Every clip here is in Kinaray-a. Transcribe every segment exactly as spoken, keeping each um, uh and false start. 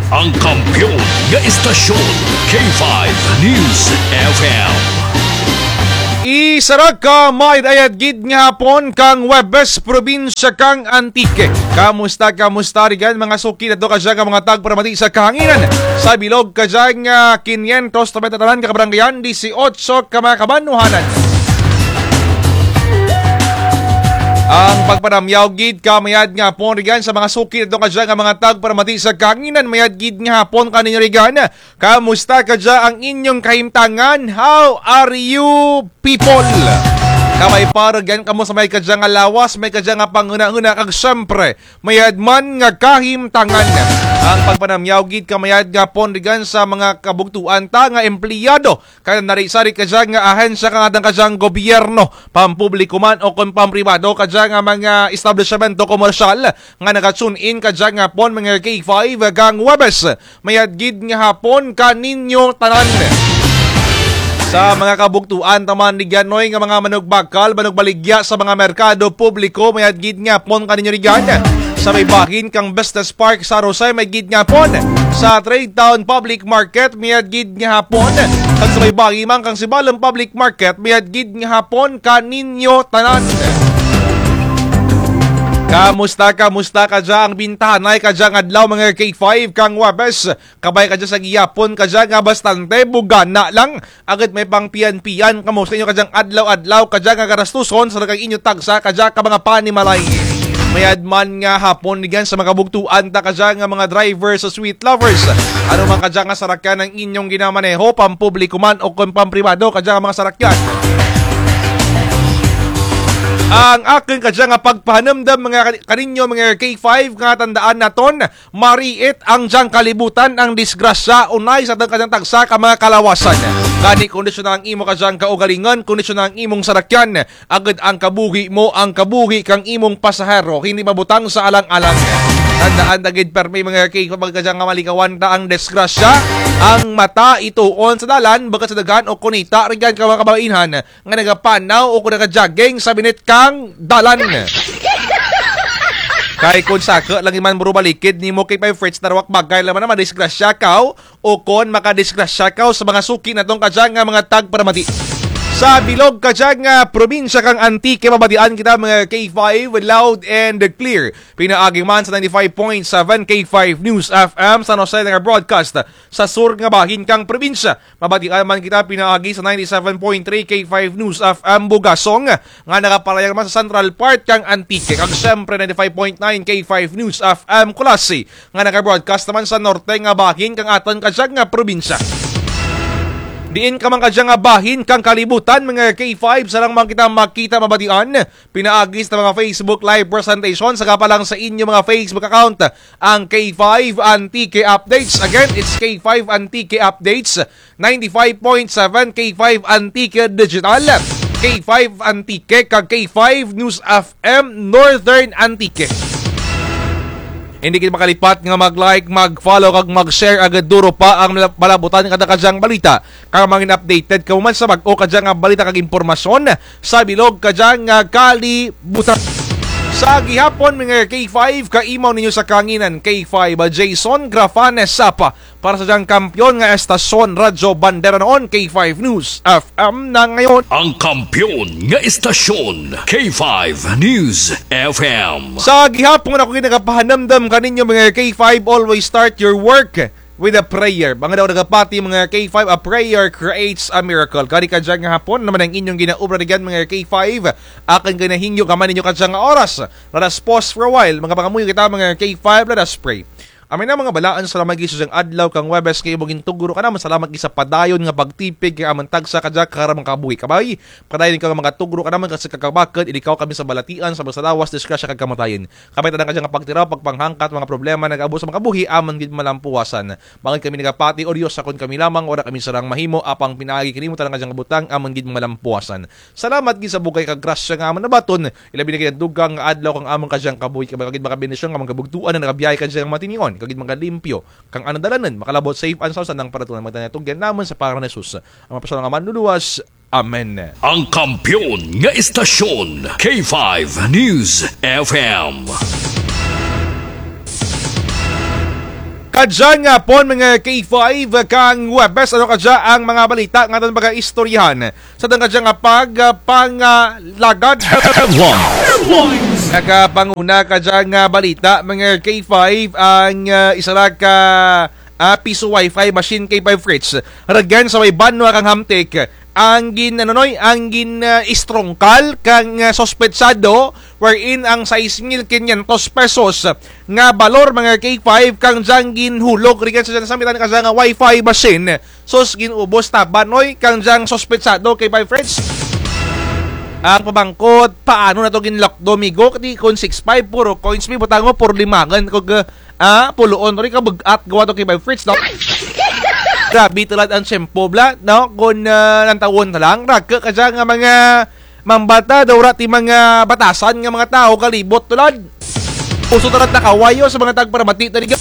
Ang kampiyon nga istasyon, K five News F M. Isara ka maayad-ayad gid nga hapon kang Huwebes, probinsya kang Antique. Kamusta, kamusta rugyan mga suki nato kadya nga mga tagparamati sa kahanginan? Sa bilog kadya nga kinyentos taman tatanan ka kabaranggayan, disiotso ka mga kabanwahanan. Ang pagpanamyaw gid ka mayad nga hapon rugyan sa mga suki nato kadya nga mga tagparamati sa kahanginan, mayad gid nga hapon kaninyo rugyan. Kamusta kadya ang inyong kahimtangan? How are you, people? Kabay pa rugyan kamo sa may kadya nga lawas, may kadya nga panghunahuna, kag syempre, mayad man nga kahimtangan. Ang pagpanamyaw gid ka mayad nga hapon rugyan sa mga kabugtuan ta nga empleyado, kanang sari-sari kadya nga ahensya kang atun kadyang gobyerno, pampubliko man o kon pampribado, kadya nga mga establisyemento komersyal, nga naga-tune in kadya nga hapon mga K five kang Huwebes. Mayad gid nga hapon kaninyo tanan. Sa mga kabugtuan taman rugyan noy nga mga manugbakal, manugbaligya sa mga merkado publiko, mayad gid nga hapon kaninyo rugyan. Sa may bahin kang Business Park San Jose, mayad gid nga hapon. Sa Trade Town Public Market, mayad gid nga hapon. Kag sa may bahin man kang Sibalom Public Market, mayad gid nga hapon kaninyo tanan. Kamusta, kamusta kadya ang bintahanay kadyang adlaw mga K five kang Huwebes? Kabay kadya sa gihapon kadya nga bastante bugana lang, agud may pangpian-pian kamo sa inyo kadyang adlaw-adlaw kadya nga garastuson sa daghang inyo tagsa kadya ka mga panimalay. Mayad man nga hapon rugyan sa mga kabugtuan ta kadya nga mga driver sa Sweet Lovers. Ano man kadya nga sarakyan ang inyong ginamaneho, pampubliko man o kon pampribado kadya nga mga sarakyan. Ang akun kadya nga pagpahanumdum mga kani-, kaninyo mga K five nga tandaan naton, mariit ang dyang kalibutan ang disgrasya, unay sa atun kadyang tagsa ka mga kalawasan. Gani kondisyon ang imo kadyang kaugalingon, kondisyon ang imong sarakyan, agud ang kabuhi mo, ang kabuhi kang imong pasahero, hindi mabutang sa alang-alang. Tandaan ta gid permi mga K five kadyang nga malikawan ta ang disgrasya, ang mata ituon sa dalan, bukut sa daghan o kunita rugyan ka mga kababainhan, nga nagapanaw o kon naga-jogging sa binit kang dalan. Kay kon saka lang man bro balikid nimo kay Five Fritz, darwa ka bagay lang man na madisgrasya kaw o kon makadisgrasya kaw sa mga suki naton kadya nga mga tagparamati. Sa bilog kadya nga probinsya kang Antique, mabatian kita mga K five loud and clear. Pinaagi man sa ninety-five point seven K five News F M San Jose nga broadcast sa sur nga bahin kang probinsya. Mabatian man kita pinaagi sa ninety-seven point three K five News F M Bugasong, nga nagapalayag man sa central part kang Antique, kag siyempre ninety-five point nine K five News F M Culasi, nga naga-broadcast naman sa norte nga bahin kang atun kadyang nga probinsya. Diin ka man kadyang nga bahin kang kalibutan, mga K five, sarang man kita makita mabatian pinaagi sa mga Facebook Live presentation, saka pa lang sa inyo mga Facebook account, ang K five Antique Updates. Again, it's K five Antique Updates, ninety-five point seven K five Antique Digital, K five Antique, kag K five News F M Northern Antique. Hindi kita makalipat nga mag-like, mag-follow, kag mag-share, agud duro pa ang mala-, malabutan kada kadyang balita. Kag mangin updated kamo man sa bag-o kadya nga balita kag impormasyon sa bilog kadya nga kalibutan. Sa gihapon, mga K five, kaimaw ninyo sa kanginan, K five, Jason Grafane Sapa, para sa dyang kampiyon nga estasyon, Radyo Bandera noon, K five News F M na ngayon. Ang kampiyon nga estasyon, K five News F M. Sa gihapon, ako gid nagapahanumdum kaninyo, mga K five, always start your work with a prayer. Mga daw nagapati, mga K five, a prayer creates a miracle. Kari kadya nga hapon, naman ang inyong ginaobra rugyan, mga K five. Akun ginahingyo ka man ninyo kadya nga oras. Let us pause for a while. Mga pangamuyo kita, mga K five, let us pray. Amen na, mga balaan, salamat gid sa dyang adlaw kang Huwebes kay imo gintugro kanamun, salamat gid sa padayon nga pagtipig kang amun tagsa kadya ka kabuhi. Kabay, padayon ikaw nga magatugro kanamun kag sa kakabakud, ikaw kami sa balatian, sa mga lawas, disgrasya kag kamatayon. Kami tanan kadya nga pagtiraw, pagpanghangkat, mga problema nagaabot sa mga kabuhi, amun gid malampuwasan. Bangud kami nagapati, O Dios, kon kami lamang, wara kami sarang mahimo, apang pinaagi kanimo tanan kadya nga butang, amun gid malampuwasan. Salamat gid sa bugay kag grasya nga amun nabaton, ilabi na gid ang dugang nga adlaw kang amun kadya nga kabuhi, kag gid makabendisyon kang amun kabugtuan nga nagabiyahe kadya nga matinion, kag gid makalimpyo kang amun dalanun, makalabot safe and sound sa andang paratuon, magtanatugyan namun sa pangalan ni Jesus, ang mapasyal nga Manluluwas. Amen. Ang kampiyon nga estasyon, K five News F M. Kadya nga hapon, mga K five, kang Huwebes, ano kadya ang mga balita nga atun pagaistoryahan sa atun kadya nga pag, ah, pangalagad? Headlines. Nakapanguna kadya nga balita, mga K five, ang, ah, isara ka, ah, piso wifi machine, K five Fritz. Rugyan sa may banwa kang Hamtic, ang gin-, ano, Noy, ang gin, ah, istrungkal kang, ah, suspetsado, wherein ang sais mil kinyentos pesos nga balor, mga K five, kang dyang ginhulog rugyan sa dyang samitan kadya nga wifi machine. Sus, gin-ubos taban, Noy, kang dyang suspetsado, K five Fritz. Ang pamangkot, paano na to ginlakdo, migo? Kati kon six five, puro coins, mi butang mo, puro limangan, kag, ah, puloon, Noy, kabug-at gawa to, K five Fritz, no? Grabe tulad ang tiyempo, bla, no? Kon, ah, lantawon na lang, rake kadya nga mga mambata, daw ra ti mga batasan nga mga tawo kalibot, tulad. Uso tulad nakawayo sa mga tagparamati, tariga.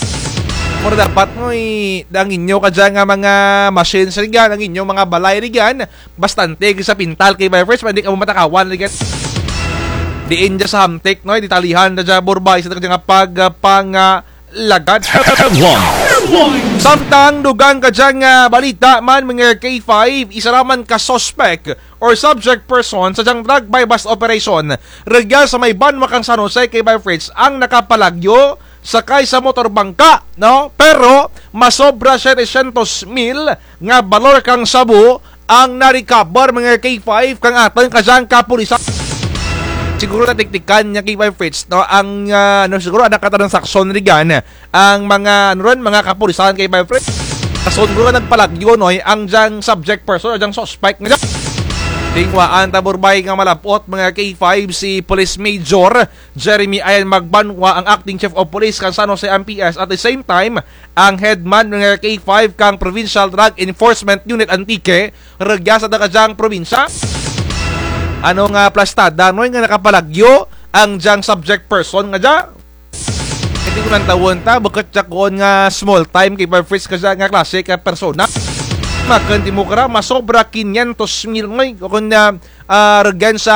Mura dapat, Noy, ang inyo kadya nga mga machines rugyan, ang inyo mga balay rugyan, bastante sa pintal, K five Fritz, pa indi kamo matakawan rugyan. Diin dya sa Hamtic, Noy, detalyehan na dya, Burbay, sa kadya nga pag, ah, pang, ah, lagad. Headlines. Samtang dugang kadya nga balita man, mga K five, isara man ka suspek or subject person sa dyang drug buy-bust operation rugyan sa may banwa kang San Jose, K five Fritz, ang nakapalagyo sakay sa motor bangka, no? Pero masobra setecientos mil nga balor kang shabu ang na-recover, mga K five, kang atun kadyang kapulisan. Siguro natiktikan dya, K five Fritz, no? Ang, ah, ano, siguro ang nakatransaksyon rugyan ang mga, ano run, mga kapulisan, K five Fritz. Kaso siguro nagpalagyo, Noy, ang dyang subject person, ang dyang suspect nga dya. Tingwaan ta, Burbay, nga malapot, mga K five, si Police Major Jeremy Ayan Magbanwa, ang acting chief of police kang San Jose M P S, at the same time, ang headman, mga K five, kang Provincial Drug Enforcement Unit Antique, rugya sa atun kadyang probinsya. Ano nga plastada, Noy, nga nakapalagyo ang dyang subject person nga dya? Indi ko lantawon ta, bukut dya kuon nga small time, K five Fritz, kadya nga klase ka persona. Makun ti mo kara, masobra kinyentos mil, Noy, kuon nga, ah, rugyan sa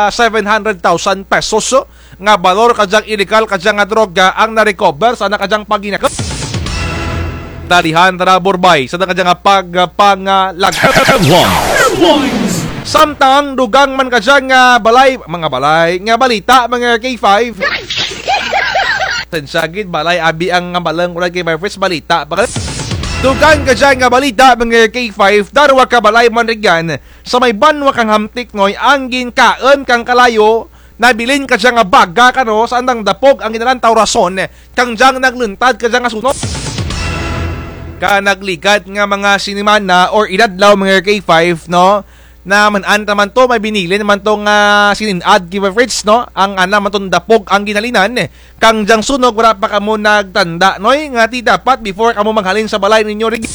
seven hundred thousand pesos, oh, nga balor kadyang ilegal kadya nga droga ang na-recover sa ana kadyang paghinakun. Detalyehan tana, Burbay, sa atun kadya nga pag, ah, pangalagad. Headlines. Samtang dugang man kadya nga balay, mga balay, nga balita, mga K five. Pasensya gid, balay, abi ang nga balang, wara, K five Fritz, balita pa ka. Dugang kadya nga balita, mga K five, darwa ka balay man rugyan sa may banwa kang Hamtic, Noy, ang ginkaun kang kalayo, nabilin kadya nga baga kano sa andang dapog ang ginalantaw rason kang dyang nagluntad kadya nga sunog. Ka nagligad nga mga sinimana or inadlaw, mga K five, no? Na man-an ta man to, may binilin man to nga sininad, K five Fritz, no? Ang ana man tong dapog ang ginhalinan kang dyang sunog, wara pa kamo nagtanda, Noy, nga ti dapat before kamo maghalin sa balay ninyo rugyan,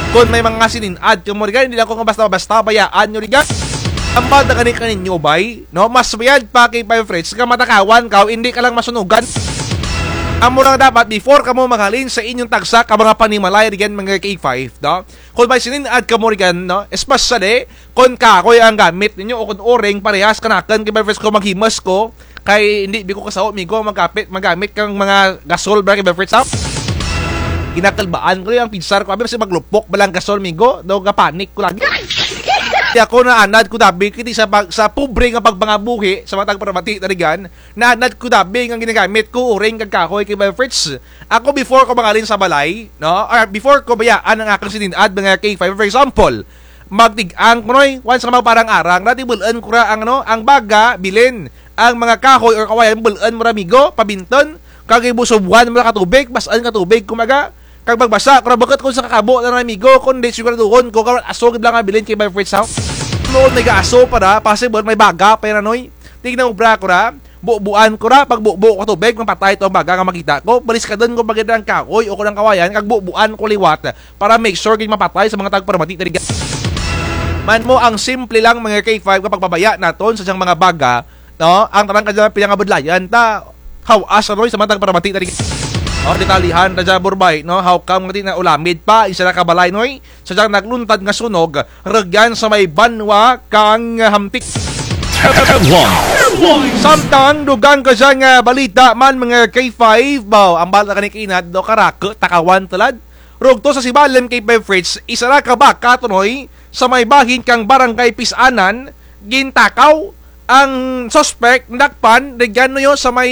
kon may mga sininad kamo rugyan, indi lang ko nga basta-basta bayaan nyo rugyan. Hambal ta gani kaninyo, bay, no? Mas mayad pa, K five Fritz, nga matakawan kaw, indi ka lang masunugan. Amo lang dapat before kamo maghalin sa inyong tagsa ka mga panimalay rugyan, mga K five, no? Kon may sininad kamo rugyan, no? Especially kon kahoy ang gamit ninyo o kon uring, parehas kanakun, K five Fritz, kon maghimus ko, kay indi bi ko kasao, migo, magapit, magamit kang mga gasol, bala, K five Fritz, ha? Ginakalbaan ko ang pinsar ko, abi, basi maglupok bala ang gasol, migo, daw gapanik ko lagi. Ti ako naanad ko dabi, kay ti sa pag-, sa pobre nga pagpangabuhi sa mga tagparamati ta rugyan, naanad ko dabi nga ginagamit ko uring kag kahoy, K five Fritz. Ako, before ko maghalin sa balay, no? Or before ko bayaan ang akun sininad, mga K five, for example, magtig-ang ko, Noy, once nga magpaarang-arang, dati bul-un ko ra ang, ano, ang baga, bilin. Ang mga kahoy or kawayan, bul-un mo ra, migo, pabintun. Kag ibusubuhan mo ra ka tubig, bas-un ka tubig, kumaga. Kag magbasa ko ra, bukut kon sa kakabo lang ra, migo, kundi siguraduhon ko, kay aso gid bala nga bilin, K five Fritz, ha? Nuon may gaaso pa ra, possible may baga pa ra, Noy. Ti ginaobra ko ra, bubuan ko ra, pagbubo ko tubig, mapatay to ang baga nga makita ko. Baliskadun ko pa gid ang kahoy o kon ang kawayan, kag bubuan ko liwat para make sure gid mapatay sa mga tagparamati ta rugyan. Man mo ang simple lang, mga K five, nga pagbabaya natun sa dyang mga baga, no? Ang tanan kadya pinangabudlayan ta, hawas, Noy, sa mga tagparamati ta rugyan. O, detalyehan ta dya, Burbay, no? How come nga ti na ulamid pa isara ka balay, Noy, sa dyang nagluntad nga sunog rugyan sa may banwa kang Hamtic. Samtang dugang kadya nga balita man, mga K five, baw, ang balita kani kaina daw karaku, takawan tulad. Rugto sa Sibalom, K five Fritz, isara ka baka, Tonoy, sa may bahin kang Barangay Pisanan, gintakaw ang suspect, nadakpan, rugyan niyo sa may